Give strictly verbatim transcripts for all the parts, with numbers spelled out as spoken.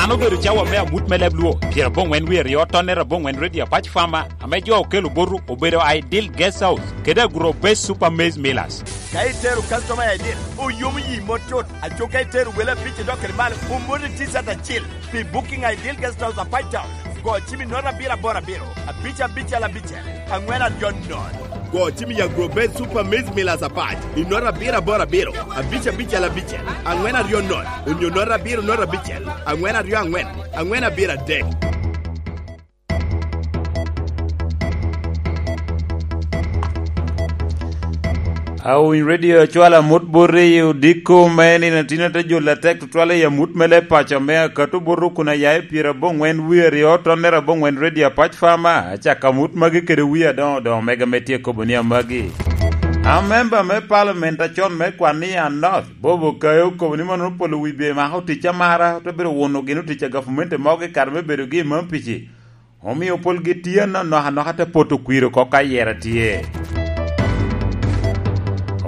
Obedo cawa me amut me leb Luo, pyerabongwen wie aryo, tonnere abongwen redio apac fama, ame jo okelo botu obedo Ideal Guest House kede Agro Base Super Maize Millers. Ka itero customer I D, oyomo yi mot tut. Aco ka itero wele abic idok kede malo, omoti T-shirt acil. Pi booking Ideal Guest House apac town, go cim i note abiro aboro abiro, abic abicel abicel, angwen aryo note. Go cim i Agro Base Super Maize Millers apac i note abiro aboro abiro, abic abicel abicel, angwen aryo note, onyo note abiro note abicel, angwen aryo angwen, angwen abiro adek. Awiny redio acwala amut bot i odiko me nino, atino te jolo atek tutwal i amut me leb paco me akato bot kun aya i pyerabongwen wie aryo, tonnere abongwen redio apac fama. Acako amut magi kede wie adoŋo doŋo mega me tye kobo ni amagi. Amemba me palament acon me Kwania North, Bobo Kayo, okobo ni mono polo wi bye mako tic amara, te bedo wuno gin otic a gavumenti mogo i kare me bedogi i Mampici. Omio polgi tye anonok anoka te poto kwir oko ka yera tye.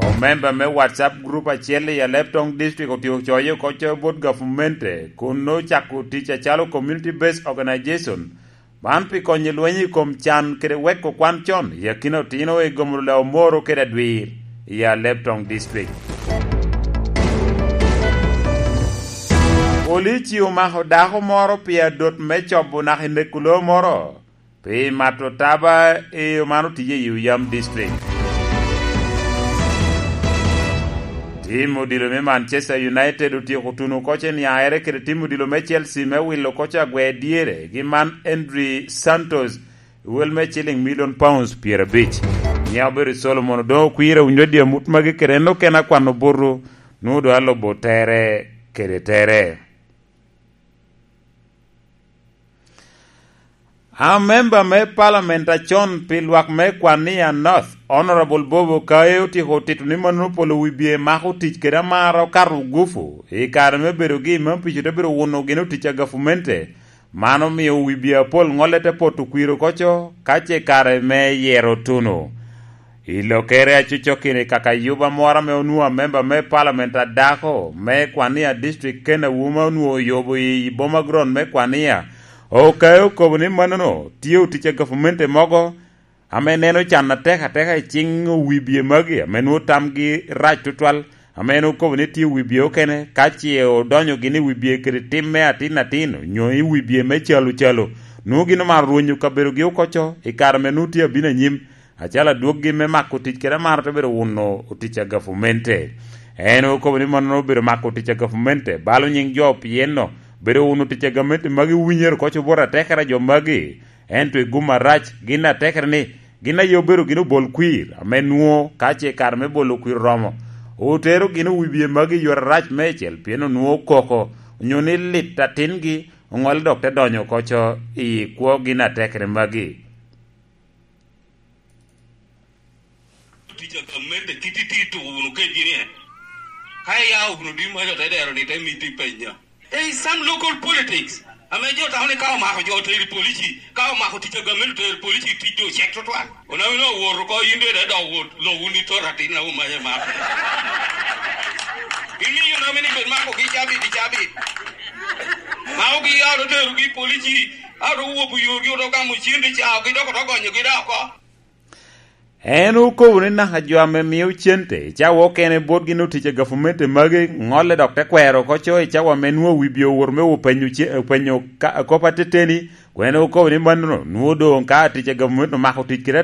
Omemba me WhatsApp group acel i Alebtong District otye ocoyo oko coyo bot gavumenti, kun ocako tic acalo Community Based Organization, man pi konyo lweny i kom can kede weko kwan con i akina otino i gomo lao moro kede adwir i Alebtong District. Polici omako dako moro pi adot me cobo naka i neko loo moro pi mato taba i omano tije i Oyam District. Tim odilo me Manchester United otyeko tuno oko ceniaere kede tim odilo me Chelsea me wilo oko agwe dyere gi man Andri Santos i wel me ciling milion pounds pyerabic. Nia obedo Solomon Odoŋo Okwira, winyo dye amut magi kede en okene akwano butu, nwoŋo doŋ alubo tere kede tere. Amemba me palament acon pi lwak me Kwania North, Honorable Bobo Kaye, otyeko tito ni mannono polo wi bye mako tic kede amara okato gufu i kare me bedogi i Mampico te bedo wuno gin otic a gafumente. Man omio wi bye apol ŋolle te poto kwir oko co, ka ce kare me yero otuno. I lokere acocokki-ni, kaka yuba moro ame onwoŋo amemba me palament adako me Kwania District, Ken Awuma, onwoŋo oyubo i boma ground me Kwania, Okayo okobo ni mannono tye otic a gavumenti mogo ame neno can atek ateka i ciŋ owibie magi ame nwoŋo tamgi rac tutwal, ame en okobo ni tye owibie okene, ka ce odonyo gin i wibie kede tim me atin atin, onyo i wibie me calo calo, nwoŋo gin omaro rwonyo kabedogi oko co i kare ame nwoŋo tye abino anyim, acalo adwoggi me mako tic kede amaro te bedo wuno otic a gafumente. En okobo ni mannono obedo mako tic a gafumente, balo nyiŋ jo, pien no bedo wuno tic a gamente magi winyere oko co bot atekere a jo magi, ento i gum arac gin atekere ni gin aye obedo gin obol kwir, ame nwoŋo ka ce kare me bolo kwir oromo, otero gin owibie magi i yore arac meicel, pien onwoŋo koko onyo ni lit atingi oŋolle dok te donyo oko co i kwo gin atekere magi. Tic a gamente kit iti tuko wunu kedgi ni en. Ka iya wunu di maca te dero ni te miti penya. There is some local politics. Ame jo tamo ni ka omako jo teri polici, ka omako tic a gamente teri polici, tic jo cek tutwal. Onawino owoto ko yin de dok wot lo wun i tor atin na umaye mako. Gimiyo nami ni bed mako gi cabit i cabit. Mako gi ya oterogi polici, a oto wopo yorgi oto gamo cen de ca, gi dok oto gonyo gi da oko. En okobo ni naka jo ame mio cente i cawa okene botgi ni otic a gavumenti magi, ŋolle dok te kwero oko co i cawa ame nwoŋo wibye owor me openyo ce-, openyo ka-, kop ateteni, kun en okobo ni mannono nwoŋo doŋ ka tic a gavumenti omako tic kede